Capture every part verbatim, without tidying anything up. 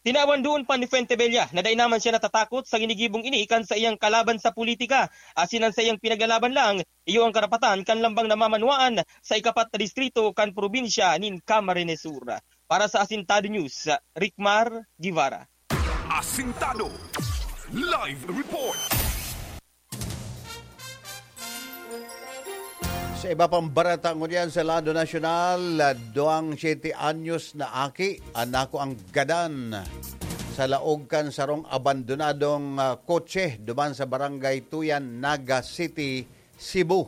Tinawan duon pa ni Fuentebella na dai naman siya natatakot sa ginigibong ini kan saiyang kalaban sa politika, asin an saiyang pinaglalaban lang iyo ang karapatan kan lambang namamanwaan sa ikapat na distrito kan probinsya nin Camarines Sur. Para sa Asintado News, Ricmar Guevara. Asintado Live Report. Sa iba pang bareta ngunyan sa lado nasyonal, duwang siyete anyos na aki an nakuang gadan sa laog kan sarong abandonadong, ah, kotse duman sa Barangay Tuyan, Naga City, Cebu.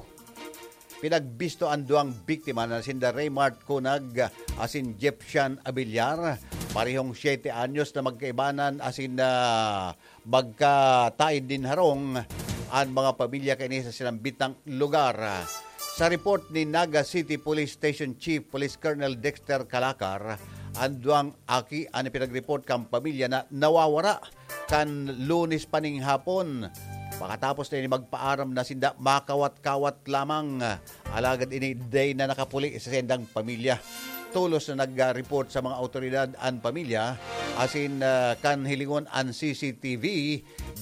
Pinagbisto an duwang biktima na sinda Raymart Cunag asin Jepsian Abiliar, parehong siyete anyos na magkaibanan asin, ah, magkataed nin harong an mga pamilya kaini sa sinambitang lugar. Sa report ni Naga City Police Station Chief Police Colonel Dexter Calacar, an duwang aki an ipinagreport kan pamilya na nawawara kan Lunes pa ning hapon. Pakatapos na ini magpaaram na sinda makawat-kawat lamang. Alagad ini dai na nakapuli sa saindang pamilya. Tolos na nag-report sa mga awtoridad an pamilya, asin, ah, kan hilingon an C C T V,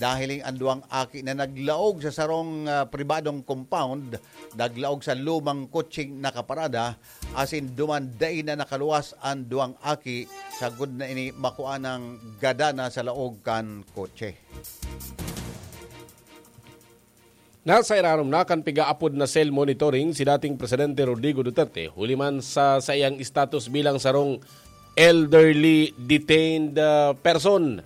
nahiling an duwang aki na naglaog sa sarong, ah, pribadong compound, naglaog sa lumang kotseng nakaparada, asin duman dai na nakaluwas an duwang aki, sagkod na ini makuanang gadana sa laog kan kotse. Nasa irarom na kan piga-apod na cell monitoring si dating Presidente Rodrigo Duterte, huli man sa saiyang status bilang sarong elderly detained, ah, person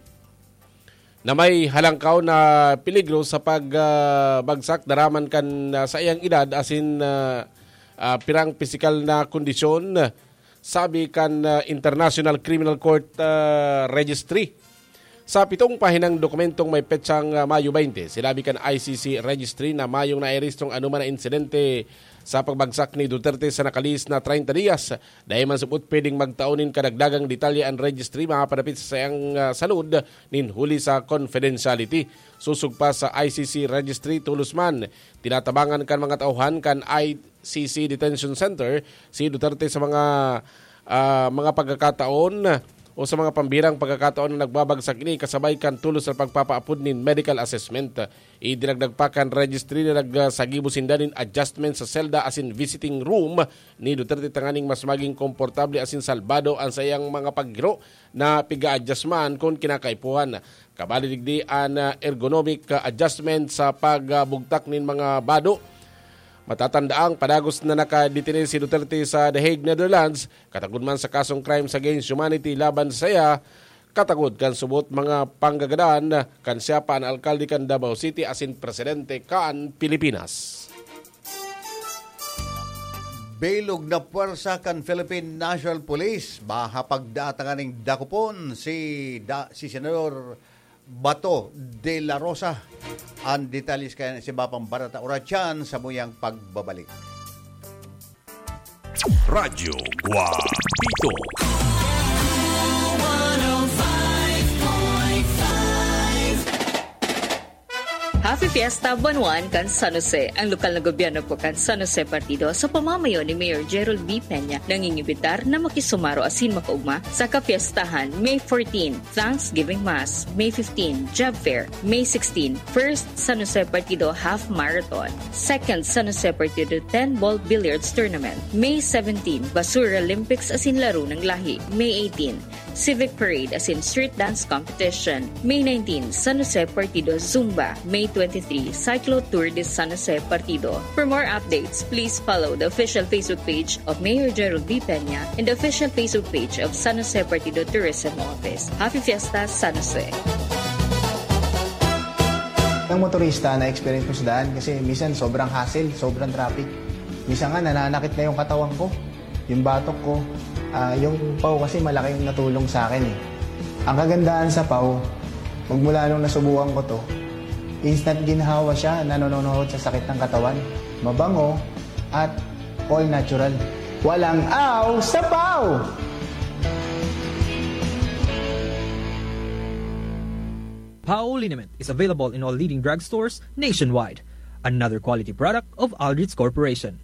na may halangkaw na peligro sa pag, ah, bagsak daraman kan, ah, saiyang edad asin, ah, ah, pirang pisikal na kondisyon, sabi kan, ah, International Criminal Court, ah, Registry. Sa pitong pahinang dokumentong may petsang, ah, Mayo twenty, sinabi kan I C C Registry na mayong nairehistrong anoman na insidente sa pagbagsak ni Duterte sa nakalihis na treinta dias. Dai man subot pwedeng magtao nin kadagdagang detalye an Registry mapapanapit sa saiyang, ah, salud nin huli sa confidentiality. Sosog pa sa I C C Registry, tolos man tinatabangan kan mga tauhan kan I C C Detention Center si Duterte sa mga, ah, mga pagkakataon o sa mga pambihirang pagkakataon na nagbabagsak ini kasabay kan tolos na pagpapaapod nin medical assessment. Idinagdag pa kan Registry na nagsagibo sinda nin adjustment sa selda asin visiting room ni Duterte tanganing mas maging komportable asin salbado an saiyang mga paggiro na piga-adjust man kun kinakaipuhan. Kabali digdi an, ah, ergonomic, ah, adjustment sa pagbugtak nin mga bado. Matatandaang padagos na nakadetene si Duterte sa The Hague, Netherlands, katagod man sa kasong crimes against humanity laban sa saiya, katagod kan subot mga panggagadan kan siya pa an alkalde kan Davao City asin presidente kan Pilipinas. Bilog na pwersa kan Philippine National Police, mahapagdaan tanganing dakopon si da-, si Senador Bato de la Rosa. An detalye kaya sa iba pang bareta oras yan sa muyang pagbabalik. Radyo Guapito. Happy Fiesta, Buwan One kan San Jose. Ang lokal na gobyerno po kan San Jose Partido sa pamamayo ni Mayor Gerald B. Peña nangingibitar na makisumaro asin makaugma sa kapiestahan May fourteen, Thanksgiving Mass, May fifteen, Job Fair, May sixteen, First San Jose Partido Half Marathon, Second San Jose Partido ten Ball Billiards Tournament, May seventeen, Basura Olympics asin Laro ng Lahi, May eighteen, Civic Parade asin Street Dance Competition, May nineteen, San Jose Partido Zumba, May twenty-three, Cyclo Tour de San Jose Partido. For more updates, please follow the official Facebook page of Mayor Gerald B. Peña and the official Facebook page of San Jose Partido Tourism Office. Happy Fiesta, San Jose! Ang motorista na experience ko sa daan kasi minsan sobrang hassle, sobrang traffic. Minsan nga nananakit na yung katawan ko, yung batok ko. Ah, yung paw kasi malaking natulong sa akin eh. Ang kagandahan sa paw, magmula nung nasubukan ko to, instant ginhawa siya, nanononohod sa sakit ng katawan. Mabango at all natural. Walang aw sa paw! Pao liniment is available in all leading drugstores nationwide. Another quality product of Aldrich Corporation.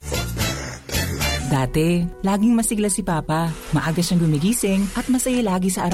Dati, laging masigla si Papa. Maaga siyang gumigising at masaya lagi sa araw